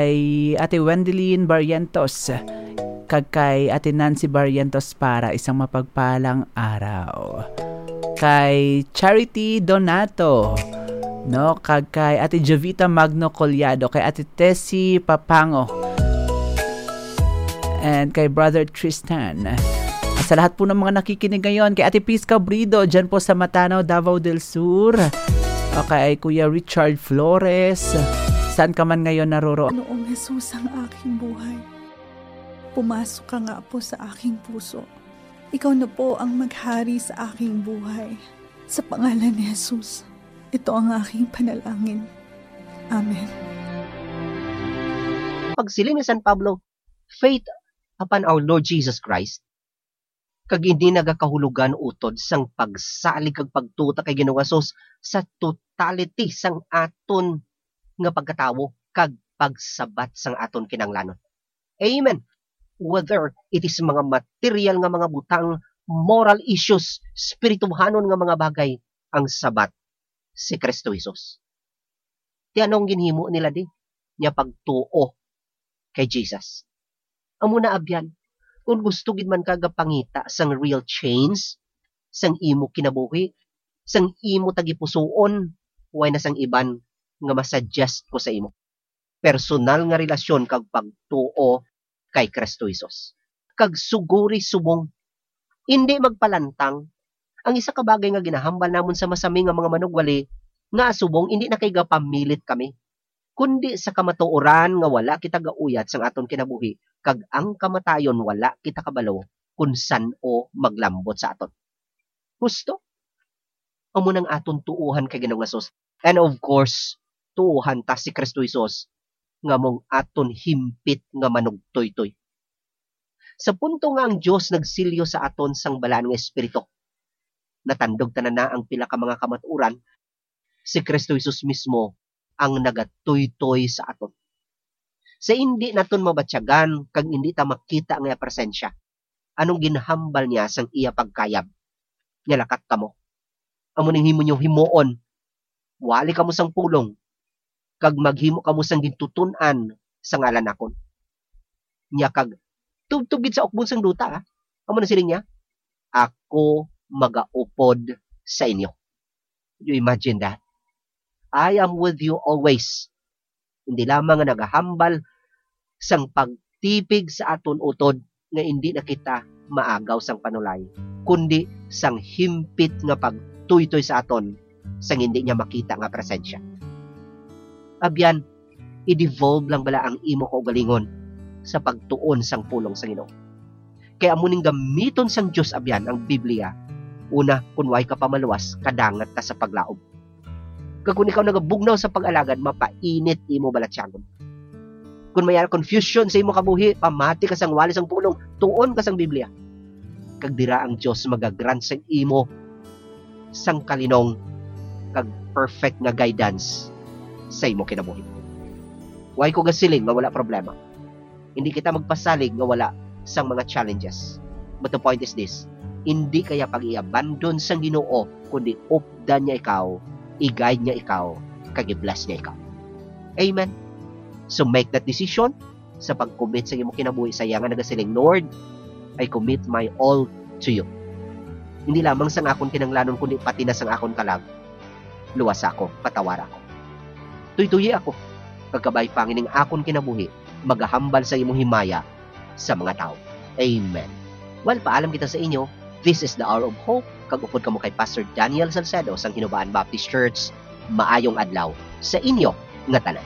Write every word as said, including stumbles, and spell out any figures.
Kay Ate Wendelin Barrientos, kag kay Ate Nancy Barrientos para isang mapagpalang araw. Kay Charity Donato, no? Kag kay Ate Jovita Magno Collado, kay Ate Tessie Papango, and kay Brother Tristan. Sa lahat po ng mga nakikinig ngayon, kay Ate Peace Cabrido, dyan po sa Matanao, Davao del Sur. O kay Kuya Richard Flores, saan ka man ngayon naroroon? Ginoong Jesus ang aking buhay. Pumasok ka nga po sa aking puso. Ikaw na po ang maghari sa aking buhay. Sa pangalan ni Jesus, ito ang aking panalangin. Amen. Pagsiling ni San Pablo, faith upon our Lord Jesus Christ, kag hindi nagakahulugan utod sang pagsalig kag pagtuta kay Ginoong Jesus sa totality sang aton nga pagkatawo kag pagsabat sang aton kinahanglanon. Amen. Whether it is mga material nga mga butang, moral issues, spirituhanon nga mga bagay, ang sabat si Kristo Jesus. Ti ano ang ginhimo nila di? Nya pagtuo kay Jesus. Amo na abyan, kung gusto gid man ka gapangita sang real change sang imo kinabuhi, sang imo tagipusoon, way na sang iban nga masuggest ko sa imo. Personal nga relasyon kag pagtuo kay Kristo Jesus. Kag suguri subong, indi magpalantang. Ang isa ka bagay nga ginahambal namon sa masami nga mga manugwali, nga subong indi na kay gapamilit kami, kundi sa kamatuoran nga wala kita gauyat sang aton kinabuhi, kag ang kamatayon wala kita kabalo kun san-o maglambot sa aton. Husto? Amo nang aton tuohan kay Ginoong Jesus. And of course, tuohan ta si Kristo Jesus nga mong aton himpit nga manugtoytoy. Sa punto nga ang Dios nagsilyo sa aton sang Balaan nga Espiritu, natandog tanan na ang pila ka mga kamatuoran, si Kristo Jesus mismo ang nagatuytoy sa aton. Sa indi naton mabatyagan kag indi ta makita ang iya presensya, anong ginhambal niya sang iya pagkayab? Nga lakat kamo. Amo ning himo niyo himuon. Wali kamo sang pulong, kag maghimo kamo sang gintutun-an sa ngalan nakon. Nya kag tubtob gid sa ukbon sang duta, ah. Amo na siling niya, "Ako magaupod sa inyo." You imagine that? "I am with you always." Hindi lamang nga nagahambal sang pagtipig sa aton utod nga indi na kita maagaw sang panulay, kundi sang himpit nga pagtuytoy sa aton sang indi niya makita nga presensya. Abyan, i-devolve lang bala ang imo kaugalingon sa pagtuon sang pulong sa Ginoo. Kay amo ning gamiton sang Dios abyan ang Biblia, una, kun way ka pa maluwas, kadangat ka sa paglaom. Kag kun ikaw nagabugnaw sa pag-alagad, mapainit imo balatyagon. Kun may ara confusion sa imo kabuhi, pamati ka sang wali sang pulong, tuon ka sang Biblia. Kag dira ang Dios magagrant sa imo sang kalinong kag perfect nga guidance sa imo kinabuhi. Way ko gasiling nga wala problema. Hindi kita magpasalig nga wala sang mga challenges. But the point is this, hindi kaya pag-i-abandon sang Ginoo, kundi updan niya ikaw, i-guide niya ikaw, kag i-bless niya ikaw. Amen. So make that decision sa pag-commit sa imong kinabuhi sa iya nga nagasiling, "Lord, I commit my all to you." Hindi lamang sang akon kinahanglanon, kundi pati na sang akon kalag. Luwasa ako, patawara ako. Tuytoyi ako, kag kabay pa nga ning akon kinabuhi magahambal sa imong himaya sa mga tawo. Amen. Well, paalam kita sa inyo. This is the Hour of Hope, kag upod kamo kay Pastor Daniel Salcedo sang Hinubaan Baptist Church. Maayong adlaw sa inyo nga tanan.